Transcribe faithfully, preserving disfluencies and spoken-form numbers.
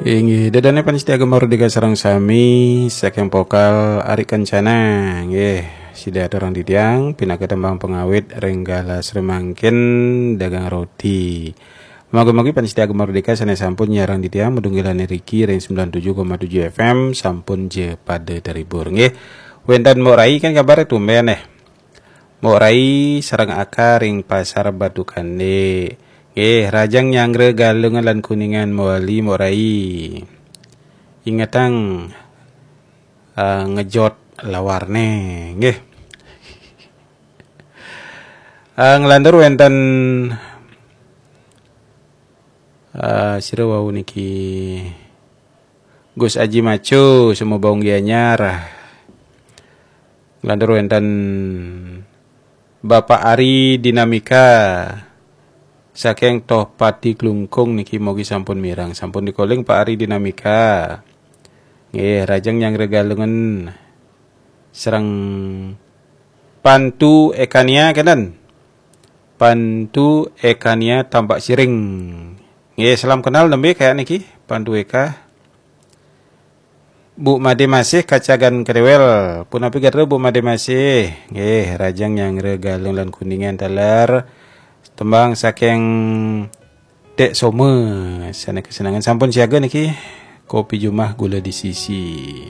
Inggih, ida dané pamiarsa Gema Merdeka sareng sami saking Pokal Ari Kencana. Nggih, sida aturang titiang pinaka tembang pangawit ring galah samangkin dagang roti. Mugi-mugi pamiarsa Gema Merdeka sané sampun nyarengin titiang madunggilan riki ring sembilan tujuh koma tujuh F M sampun ja pada terhibur. Nggih, wénten Mbok Rai kan kabaré tumbén eh. Mbok Rai sareng Aka ring Pasar Batu Kandé. Nggih, rahajeng nyanggra Galungan lan Kuningan mawali Mbok Rai. Ingetang ah, ngejot lawarné, nggih. Ah, nglantur wénten ah, sira wau niki Gus Aji Macu, Sumbawa Gianyar. Nglantur wénten Bapak Ari Dinamika saking Tohpati Klungkung niki mugi sampun mireng. Sampun dikoling Pak Ari Dinamika. Nggih, rahajeng nyanggra Galungan sareng Pantu Ekania kenten. Pantu Ekania Tambak Siring. Nggih, salam kenal nembé kayak niki Pantu Eka. Bu Madé Masih Kacagan Krewel. Punapi gatra Bu Madé Masih? Nggih, rahajeng nyanggra Galungan lan Kuningan taler. Tembang saking Dék Soma. Sané kasenengan sampun siaga niki. Kopi Jumah gula di sisi.